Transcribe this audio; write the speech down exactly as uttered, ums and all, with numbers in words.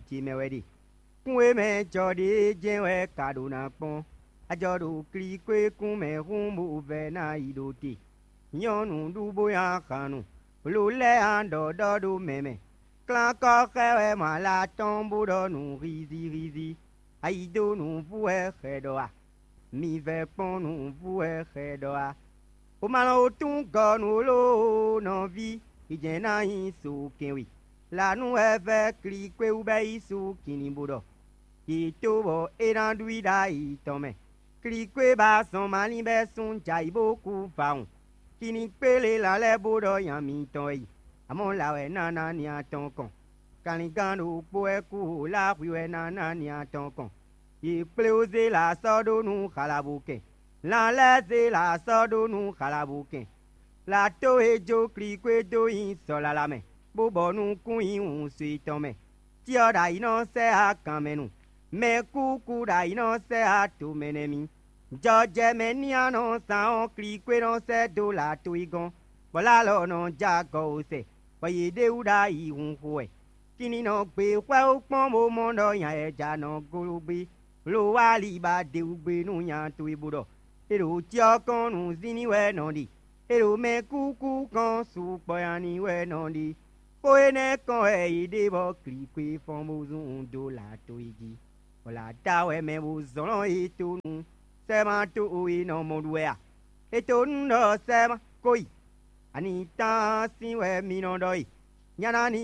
ce mɛ wɛ ɖe. Kún e mɛ jɔ ɖě jɛ́n wɛ ka ɖo ná kpɔ́n. A jɔ ɖo klíkwékún mɛ hǔn bó vɛ́ ná yi ɖo te. Nyɔ̌nu ɖu bó nyi ahan nu, lo lɛ́ɛ a ɖɔ ɖɔ ɖó mɛ mɛ. Klánkɔ́ xɛ wɛ mɔ ala tɔn bó ɖɔ nǔ hízíhízí. Ayi dó nǔ vú wɛ xɛ ɖɔ a? Mi vɛ́ kpɔ́n nǔ vú wɛ xɛ ɖɔ a? O ma nɔ wo tún gɔ nǔ lóó nɔví, yi jɛ́n ná nyí so kɛnwe. Lǎnú wɛ vɛ́ klíkwé wú bɛ́ yí sú kinni bó ɖɔ. Yě tó bɔ é ná ɖú i ɖ'ayǐ tɔn mɛ. Klíkwé ba zɔn malín bɛ́ sún jɛ ayǐ bó kú vawun. Kinni kpélé lan lɛ́ɛ bó ɖɔ nya mitɔn wɛ yi, amɔ̌ la wɛ ná ná nya tɔn kɔn. Kanlingán ɖokpó wɛ kú o lá hwi wɛ ná ná nya tɔn kɔn. Yě kplé wú zé la sɔ́ ɖó nú xalabokɛn. Lan lɛ́ɛ zé la sɔ́ ɖó nú xalabokɛn. La tó e jó klíkwé dó nyi sɔ̌ lala mɛ, bó bɔ nukún nyi wǔnso yětɔn mɛ. Cyɔ ɖo ayǐ nɔ sɛ á kan mɛ nu, mɛkúkú ɖo ayǐ nɔ sɛ á to mɛ nɛ́ mì. Jɔjɛmɛ ní a nɔ zán ɔ́, klíkwé nɔ sɛ dó la to yi gɔ́n, bɔ lá lɔ nɔ já gɔ o sɛ, bɔ yě ɖ'é wú ɖ'ayǐ hun xo wɛ. Kinni nɔ gbe xwɛ ó kpɔ́n bó mɔ ɖɔ nya yɛ ja nɔ glo gbé, lo wá ali ba d'é wú gbé nú nya towe bó ɖɔ: "É ɖo cyɔ kɔn nǔzínní wɛ nɔ ɖe, é ɖo mɛkúkú kɔn sukpɔ́ nyi wɛ nɔ ɖe." Xó énɛ́ kɔn wɛ è ɖe bɔ klǐkwé fɔ́n bó zún dó lǎ towe jí, bɔ lǎ ta wɛ mɛ bó zlɔ́n é tó nú sɛ́ma tó o e nɔ mɔ ɖu wɛ a? É tó nú ɖɔ sɛ́ma ko yi, ani tán sín wɛ mi nɔ ɖɔ e? Nyana ní